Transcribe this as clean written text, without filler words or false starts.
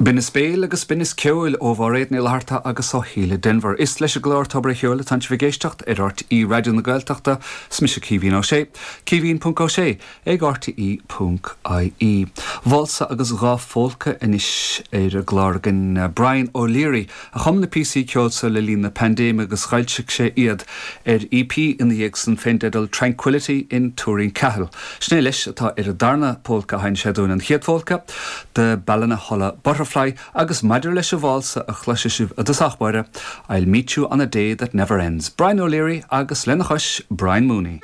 Binneas béil agus binneas ceoil ó Mháiréad Ní Fhlatharta agus ó Shíle Denvir. Is leis an gclár Tobar a' Cheoil atánn sibh ag éisteacht ar RTÉ Raidió na Gaeltachta. 'S mise Caoimhín Ó Sé. Caoimhín ponc Ó Sé ag RTÉ ponc IE. Válsa agus 2 phólca anois ar an gclár againn. Brian O'Leary a chum na píosaí ceoil so le linn na paindéime agus dh'fhoilsigh sé iad ar EP ina dhiaidh san fén dteideal Tranquility in Tuairín Cahill. Sin é leis atá ar an darna pólca a sheinn sé dúinn, an chéad phólca, The Ballinaholla Butterfly agus maidir leis an válsa a chloisfidh sibh i dtosach báire, I'll Meet You on a Day That Never Ends. Brian O'Leary agus lena chois, Brian Mooney.